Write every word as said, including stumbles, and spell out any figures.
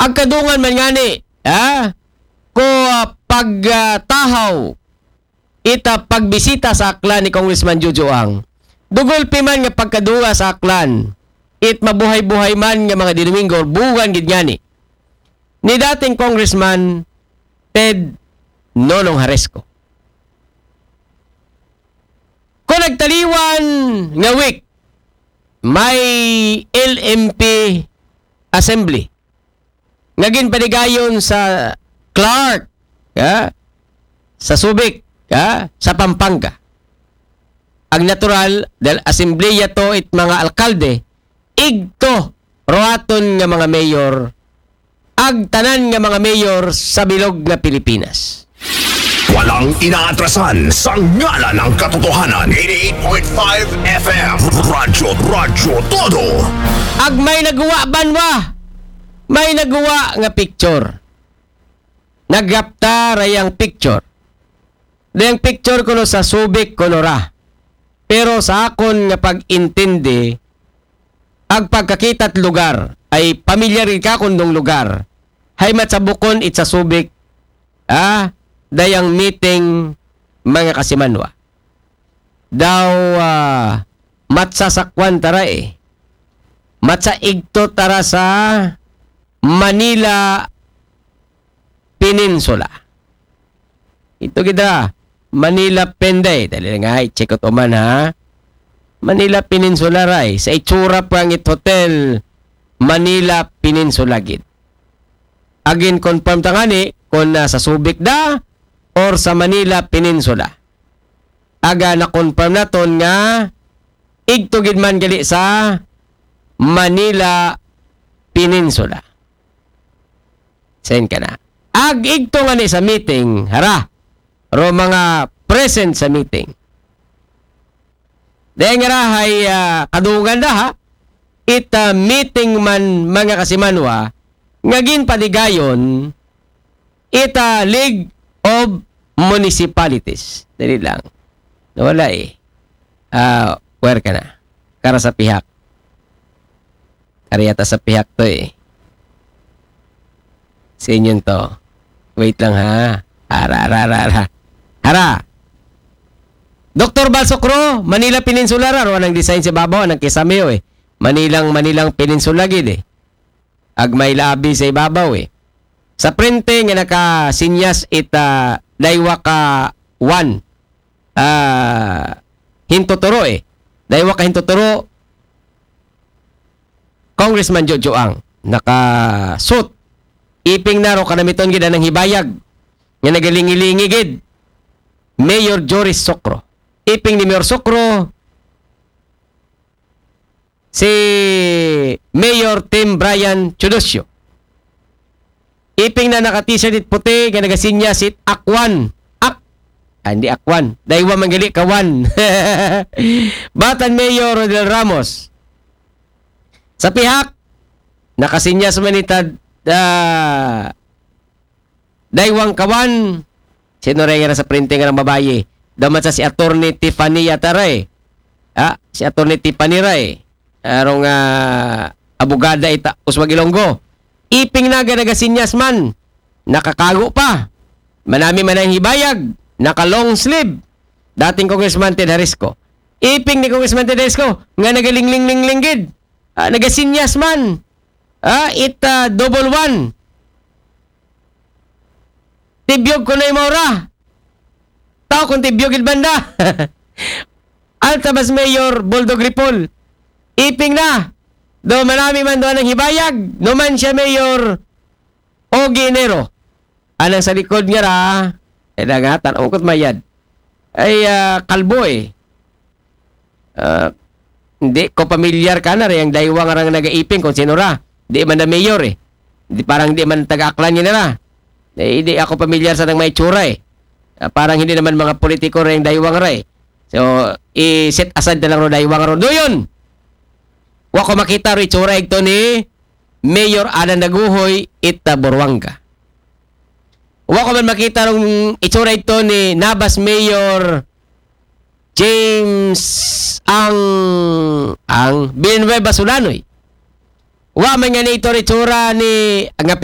Ang kadungan man ngani, ha? Ko, ah, pag, ah, tahaw, ita pagbisita sa Aklan ni Congressman Jojo Ang. Dugol pi man nga pagkadunga sa Aklan, it mabuhay-buhay man nga mga dinuminggo, bugan gid ngani ni dating Congressman Ted Nonong Haresco. Kung nagtaliwan nga week, may L M P assembly nga ginpanigayon sa Clark, ha? Sa Subic, ha? Sa Pampanga. Ang natural, dahil asembleya to it mga alkalde, igto ruaton nga mga mayor, ag tanan nga mga mayor sa bilog nga Pilipinas. Walang inaatrasan sa ngalan ng katotohanan. Eighty-eight point five F M. Radyo, Radyo Todo. Ag may naguwa banwa, may naguwa nga picture. Naghapta ra yang picture. Dayang picture kuno sa Subic kuno ra. Pero sa akon nga pag-intindi, ag pagkakita't lugar, ay pamilyar gid ka kun dong lugar. Hay matsabukon it sa Subic, ah, dayang meeting, mga kasimanwa. Daw, ah, matsasakwan tara eh. Matsa igto tara sa Manila Peninsula. Ito gid ra, Manila Penday. Dali lang, ay, check out man, ha. Manila Peninsula, ray. Sa itsura pa ang it hotel, Manila Peninsula gid. Again, confirm ta ngani kung nasa Subic da or sa Manila Peninsula. Aga na-confirm naton nga igto gid man gali sa Manila Peninsula. Sen ka na. Ag igto nga ni sa meeting, hara, ro mga present sa meeting. Dahil nga rahay, ah, kadungan na ha, it, ah, meeting man, mga kasimanwa, nga ginpanigayon, it, ah, League of Municipalities. Dali lang. Nawala eh. Ah, where ka na? Kara sa pihak. Ari yata sa pihak to eh. Sa inyo to. Wait lang ha. Ara, ara, ara, ara. Ara! Doktor Balsokro, Manila Peninsula ra. Ro anang design sa babaw, anang kisame, eh. Manilang, Manilang Peninsula gid eh. Ag may labi sa ibabaw eh. Sa prente nga nakasinyas it, ah, daywa ka one. Ah, hintuturo eh. Daywa ka hintuturo, Congressman Jojo Ang nakasuot. Iping na ro kanamiton gid anang hibayag nga nagalingi-lingi gid. Mayor Joris Socro. Iping ni Mayor Socro, si Mayor Tim Brian Teodosio. Iping na naka-t-shirt it puti nga nagasinyas it Akwan. Ak, ah, hindi Akwan. Daywa man gali, Kawan. Batan Mayor Rodel Ramos. Sa pihak, nakasinyas man it, ah, Daywang Kawan, sino ray nga sa printing nga babayi? Daw man sa si Attorney Tiffany yata ray. Ah, si Attorney Tiffany ray. Arong, ah, abogada ita, Uswag Ilonggo. Iping naga nagasinyas man. Nakakago pa. Manami man ang hibayag. Naka long sleeve. Dating Congressman Ted Harisco. Iping ni Congressman Ted Harisco nga nagalingling-lingling gid. Ah, nagasinyas man. Ah, it, ah, double one. Tibyog ko na yung maura. Tao kung tibyog gid banda. Alta Bas Mayor Boldog Ripol. Iping na. Do manami man do ang hibayag. No man siya Mayor Ogie Enero. Anang sa likod nga ra. Eh, nagatan. Ang kot mayad. Ay, ah, kalbo eh. Ah, hindi ko pamilyar ka na rin ang daywa nga rang nagaiping kung sino ra. Di man na mayor eh. Di, parang di man taga-Aklan yun na. Eh, di ako pamilyar sa nang may tsura eh. Ah, parang hindi naman mga politiko rin daywa nga ra eh. So, i-set aside na lang ro daywa nga ro. Doyon! Wa ko makita ro itsura igto ni Mayor Alan Daguhoy ita Boruanga. Wa ko man makita rong itsura ito ni Nabas Mayor James Ang, Ang Villanueva Sulanoy. Wa man nga ni itsura-itsura ni nga